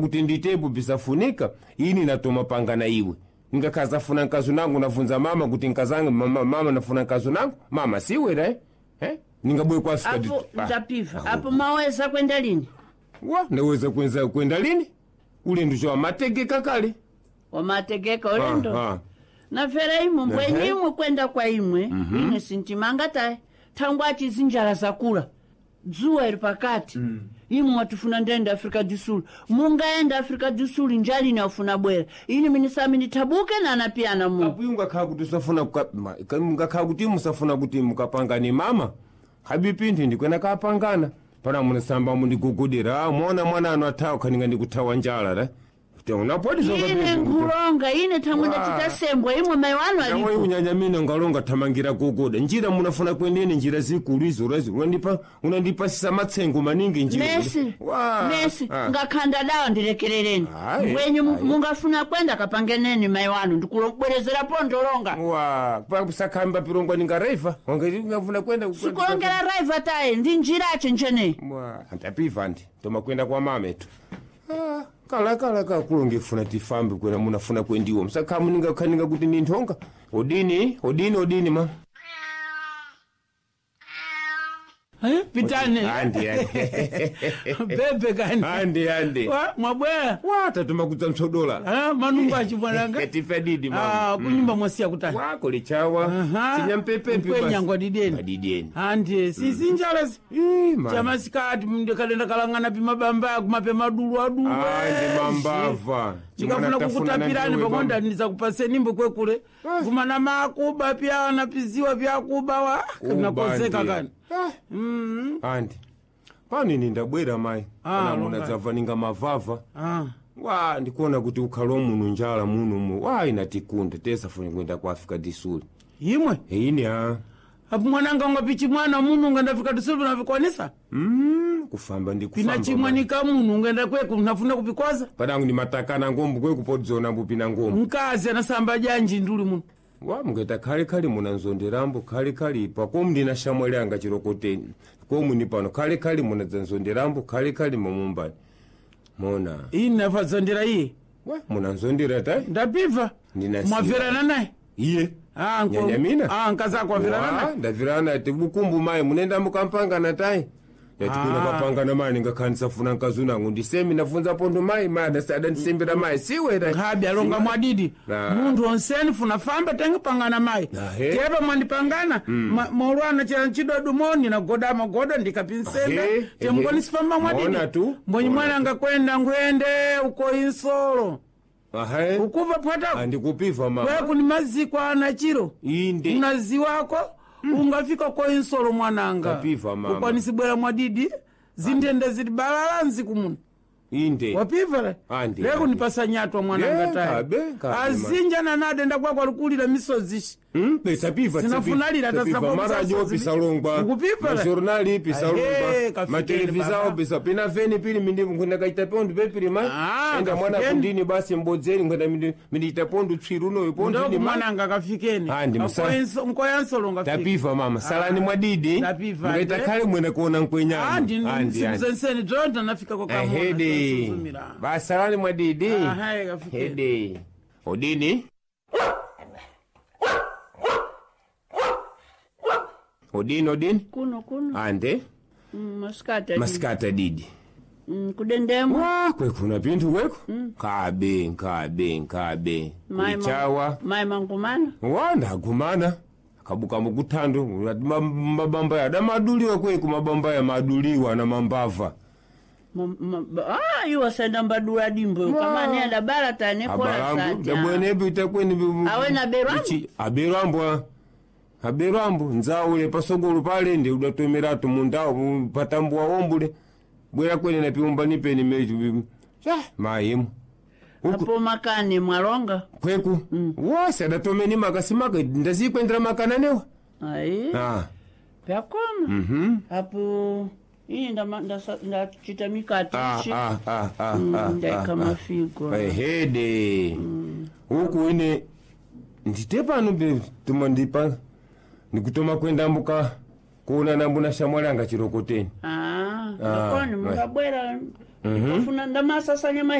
Kuti nditepo bisafunika ini natoma pangana iwe ngakazafuna nkazu nangu navunza mama kuti nkazange mama, mama nafuna nkazu nangu mama siwera eh? Eh? Ningabwe kwa Afrika Apo ndapiva apo maweza kwenda lini? Wa ndaweza kwenza kwenda lini ulendo cho amategeka kale. Wamategeka ulendo. Ah, ah. Nafera imwe mbwenye imwe kwenda kwa imwe ine sintimanga tayi thangwa achizinjala zakula dzuwa ili pakati. Imwe watifuna ndenda Afrika du Sul, mungaenda Afrika du Sul njali inafuna bwera ini minisami ndithabuke nanapiyana mu. Apo ungakhala kuti usafuna ungakhala kuti musafuna kuti mukapangane mama habipinthu ndikwena kapangana pana munasamba mundigugudira mona mwana anu athawa khaninga ndikuthawa njala ra unapodi Ine nkhulonga ine thangwe ndachita sembwa imwe mayi wanu Nawe alipo. unyanyamina ngalonga thamangira guguda njira munafuna kwendene njira zikulu izo razi unandipa unandipasisa matsengo maningi njira. Mesi Wa. mesi Ah. ngakhanda dawa ndilekerereni. Ayi, mbwenye ayi. mungafuna kwenda kapangeneni mayi wanu ndikulobwerezera ndolonga. Wa pakusakhamba pirongwa ningaraiva wangafuna kwenda Sikulongera raiva tayi ndi njirache njeneyi. Mwa, andapiva ndi tomakwenda kwa mametu. Ah, kala kala kakulonge funa tifambe kwena munafuna kwendiwo msakhamu ningakhaninga kuti ninthonga odini odini odini ma. Eh, pitane. Andi andi. Bebe kani. Andi andi. Wa, mwabwera. Wa tatuma kudza mtsodola. Ah, manungu achimwananga. Tife didi mama. Ah, kunyumba mwasiya kutani. Wako lichawa. Aha. Sinyampepepi basi. Mkwenyangwa dideni. Adideni. Andi sisi njala si. Ii, ma. Chamasikati mndikadenda kalang'ana pimabamba kumape madulu adulu. Andi mambava. Chikafuna kukutapirani pakonda ndizakupaseni kwekule. Kumana makuba pyana piziwa pyakuba wa. Nakozeka kani. Andi. Pano ine ndabwera mayi. Ah, Kana longa. munadzabva ninga mavava. Ah. Wa ndikuona kuti ukhalo muno njala muno wa inatikunda tesafuna kuenda ku Africa du Sul. Imwe. Ine a. Apo mwananga ungapichi mwana munu ungandafika tusulu navikwanisa. Kufamba ndi kufamba. Pina chimwanika munu ungenda kweku nafuna kupikwaza. Padangu ni matakana ngombo kwekupodzona mbupina ngombo. Mkazi anasamba janji nduli muno. Wa mungeta khale munanzonderambo khale ipa komu ndina shamwali anga chirokoteni komu ni pano khale munadzanzonderambo khale mumumbani mona. Ini nafazondera iye. Wa munanzondera tai. Ndapiva. Ndinasiya. Mwaverana naye. Iye. Ah, Nyanyamina? Ah, nkazako averana Wa, naye. ndavirana ti bukumbu mayi munenda mukampangana tai yatikuna Ah. kapangana mayi ningakhanisafuna nkazunangu ndisemi nafunza pondo mayi mayi adandisembera mayi siwera. Nkhabi alonga mwadidi. Ah. Munthu onseni funa famba tenge pangana mayi. Ahe. Tepa mwandipangana. Maulwana chila nchidodu nagoda magoda ndikapinsenda. Ahe, Temukoni sifamba mwadidi. Mona tu. Mbonyi Mona mwana angakwenda ngwende uko insolo. Ahe. Ukuva pwatako. Andikupiva mama. Kweku ni maziko ana chiro. Inde. Unaziwako ungafika ko insolo mwananga. Kapiva, mama. Ukwanisibwera mwadidi zintende zili balala nziku muno. Inde. Wapiva le. Andi, Leko andi. nipasa nyatwa mwananga Ye, tayi. kabe, kabe, Azinja nanade ndakwakwa lukulira misozi ishi. Pesapiva Sinafunalira tasapo maradio misozi. pisalongwa Ukupiva le. majornali Ahe, pisalongwa kafikeni matelevisao baba. pisa pina veni pili mindi nkwenda kaita pondu pepili ma. Ah, enda mwana kafikeni. kundini basi mbodzeni nkwenda mindiita pondu tswiru unoyo pondu Ndoku ni ma. mwananga kafikeni. Andi, Nkoya nsolo ngafika. Tapiva mama salani mwadidi. Tapiva, mukaita ande. khale mwene kuona nkwenyani. Andi Andi, andi. nsenseni dzonda nafika kwa kamona. Ehede. Suzumira. Basalani mwadidi. Ahe, kafikeni. Hede. Odini. Odini odini. Kuno kuno. Ande. Masikati. Masikata didi. Kudendemo. Wa kwekuna pinthu kweku. Nkabe nkabe nkabe. Kulichawa. Mayi mangumana. Wa ndagumana. Akabuka mukuthando mabamba ya adamaduliwa kweku mabamba ya maduliwa na mambava. Ah, iwo saenda mbadula dimbo kama ni adabala tane kola Abalangu sati. ndabwenepo itakweni Awe na berwambo? aberwambo aberwambo nzaule pasogolo pale ndi udatomeratu mundawo patambuwa wombule bwera kwene napiumba nipeni mechu mayimu. Apo makane mwalonga. Kweku wose adatomeni makasimaka ndazikwendera makananewa. Ayi. Ah. Pyakoma. Apo ini ndachita mikati Ah, ichi. ah, ah, ah, ah, Ndaika ah, mafigo. Ehede. Huku ine ndite pano tuma ndipa ndikutoma kwenda mbuka kuona nambuna shamwali anga chirokoteni. Ah, Ah, ndakoni mungabwera. Kufuna ndamasasanya.